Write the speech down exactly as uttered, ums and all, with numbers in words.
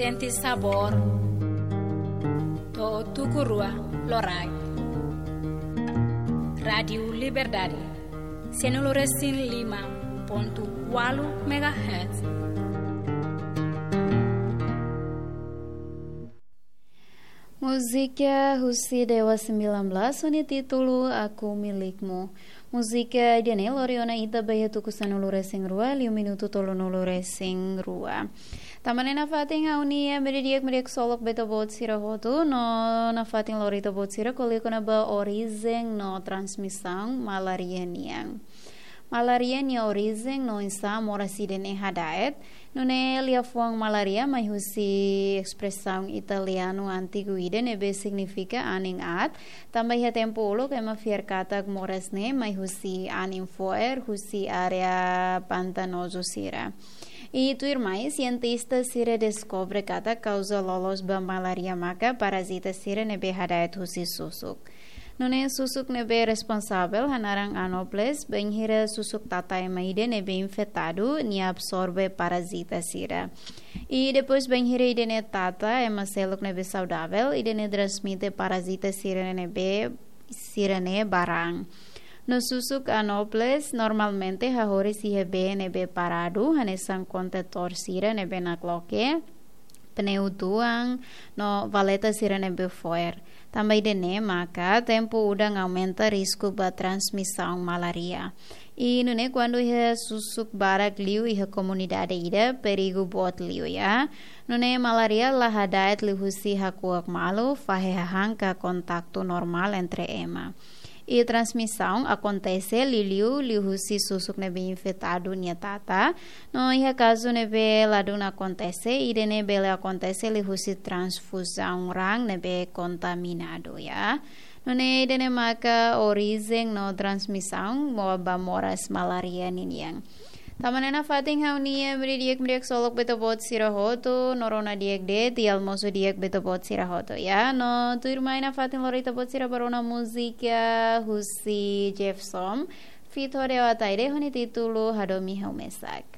Sente sabór. To'o tuku rua loraik. Rádiu Liberdade. Sanulu resin lima pontu ualu megahertz. Múzika husi Dewa sembilan belas ho nia títulu Aku Milikmu. Múzika ida-ne'e lori ona ita ba iha tuku sanulu resin rua, liu minutu tolunulu resin rua. Tanba ne'e nafatin ha'u-nia ema di'ak, ema di'ak ksolok ba ita-boot sira hotu, no nafatin lori ita-boot sira ko'alia kona-ba orijen no transmisaun malária nian. Malária nia orijen no oinsá moras ida-ne'e hada'et, nune'e liafuan malária mai husi espresaun italianu antigu ida ne'ebé signifika anin aat, tanba iha tempu uluk ema fiar katak moras ne'e mai husi anin fo'er husi área pantanozu sira. I tuirmai, sientista sira deskobre katak kauza loloos ba malária maka parazita sira ne'ebé hada'et husi susuk. Nune'e susuk ne'ebé responsavel hanaran Anopheles, bainhira susuk tata ema ida ne'ebé infetadu, nia absorve parazita sira. I depois bainhira ida-ne'e tata ema seluk ne'ebé saudavel, ida-ne'e transmite parazita sira ne'ebé sira-ne'e ba raan. No susuk Anopheles normalmente hahoris iha bee ne'ebé paradu, hanesan kontetór sira ne'ebé nakloke, pneu tuan, no valeta sira ne'ebé fo'er. Tanba ida-ne'e maka tempu udan aumenta risku ba transmisaun malária. I nune'e kuandu iha susuk barak liu iha komunidade ida, perigu boot liu ya. Nune'e malária la hada'et liuhusi hakuak malu, fahe hahán ka kontaktu normál entre ema. I transmisaun akontese liuliu liuhusi susuk ne'ebé infetadu nia tata. No iha kazu ne'ebé ladún akontese, ida-ne'e bele akontese liuhusi transfuzaun raan ne'ebé kontaminadu ya. Nune'e ida-ne'e maka orijen no transmisaun mo ba moras malária ninian. Tanba ne'e nafatin ha'u-nia ema di'ak, ema di'ak ksolok ba ita-boot sira hotu, no rona di'ak de'it, i almosu di'ak ba ita-boot sira hotu ya. No tuirmai nafatin lori ita-boot sira ba rona múzika husi Jeff Som, feat Hode Ataide ho nia títulu Hadomi Ha'u Mesak.